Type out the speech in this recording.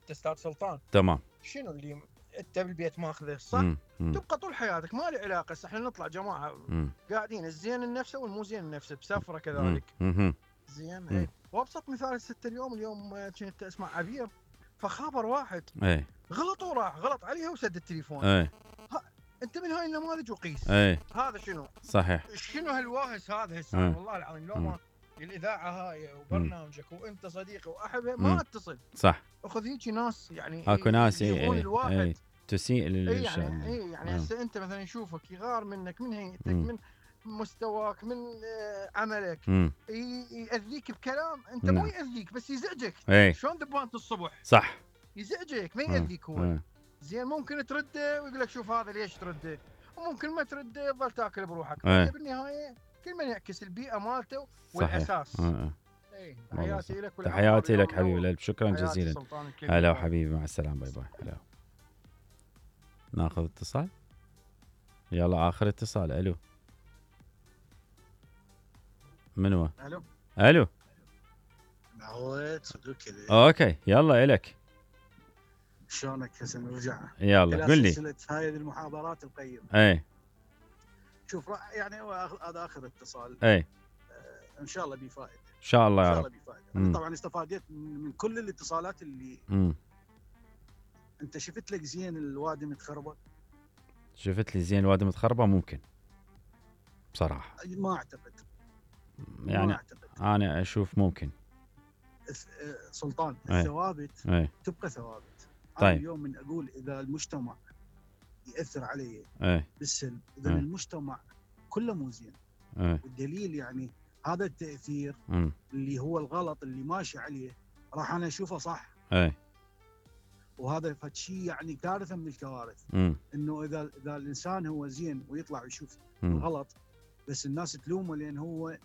انت استاذ سلطان. تمام. شنو اللي انت بالبيت ماخذه صح؟ تبقى طول حياتك ما له علاقه. احنا نطلع جماعه قاعدين الزين النفسه والمو زين النفسه بسفره كذلك. زين. اي وابسط مثال هسه اليوم كنت اسمع عبير فخابر واحد غلط وراح غلط عليها وسد التليفون. انت من هاي النماذج وقيس. هذا شنو؟ صحيح. شنو هالواهس هذا هسه والله العظيم. لو ما الاذاعه هاي وبرنامجك وانت صديقي واحبه ما اتصل. صح. اخذ هيك ناس يعني اكو ناس الواحد تسيء يعني هسه انت مثلا يشوفك يغار منك من هيئتك من مستواك من عملك يأذيك بكلام انت مو يأذيك بس يزعجك. شلون دبانة الصبح صح يزعجك ما يأذيك هو. زين ممكن ترده ويقول لك شوف هذا ليش ترده وممكن ما ترده تظل تاكل بروحك. بالنهايه كل من يعكس البيئه مالته والاساس. تحياتي لك تحياتي لك حبيبي القلب. شكرا جزيلا. هلا وحبيبي مع السلامه. باي باي. هلا. ناخذ اتصال. يلا اخر اتصال. الو من هو؟ الو معود صدوق كذا. اوكي يلا الك. شلونك هسه نرجع يلا قل لي سلسله هاي المحاضرات القيمه. شوف يعني هذا اخر اتصال. ان شاء الله بفائده. ان شاء الله يا رب. انا طبعا استفادت من كل الاتصالات اللي انت شفت لك زين الوادي متخربه. شفت لي زين الوادي متخربه ممكن بصراحه ما اعتقد يعني ما أعتقد. انا اشوف ممكن سلطان الثوابت تبقى ثوابت. طيب. أنا اليوم من اقول اذا المجتمع ياثر عليه بالسلب اذا المجتمع كله مو زين. والدليل يعني هذا التاثير اللي هو الغلط اللي ماشي عليه راح انا اشوفه صح. وهذا شيء يعني كارثه من الكوارث. انه اذا الانسان هو زين ويطلع ويشوف الغلط بس الناس تلومه لان هو